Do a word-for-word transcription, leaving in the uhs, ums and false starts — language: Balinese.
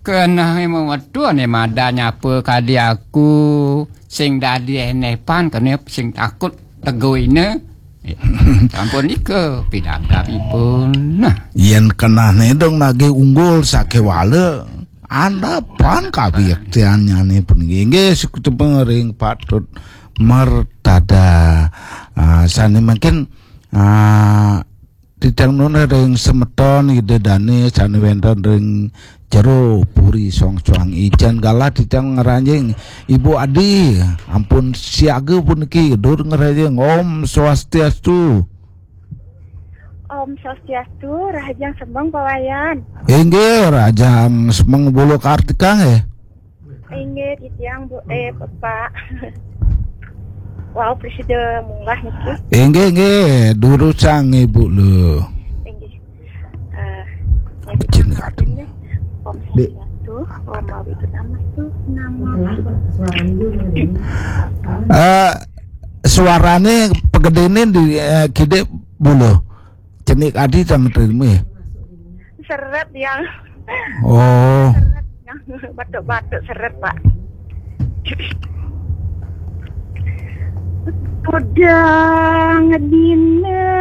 Keneh metu ne madan nyapa kadi aku, sing dadi enepan kene sing takut teguine. Sampun nika pidabdabipun. Nah. Yen kenehne dong nagih unggul sakewala, andapan kawiktanyane puniki. Inggih, sukutipun ring patut mertada. Ah, sane mangkin, ah, titiang nunas ring semeton Ida Dane sane wenten ring jero Puri Songsoang. Ijen galah titiang ngranjing Ibu Adi, ampun siaga puniki, dur ngranjing. Om Swastiastu. Om Swastiastu, rahajeng semeng Pak Wayan. Inggih, rahajeng semeng Bulu Kartika nggih. Inggih, titiang Bu, eh, Bapak. Wau, prasida munggah niki. Inggih, inggih, durusang Ibu lu. Inggih. Eh, Apa jeneng atuh? Om Dek. Swastiastu, Om Awighnamastu, nama. Eh, suarane pegedene di, eh, kidik Bulu. Cenik adi sama terima ya? Seret yang. Oh. Seret yang batuk-batuk seret, Pak. Tudang dina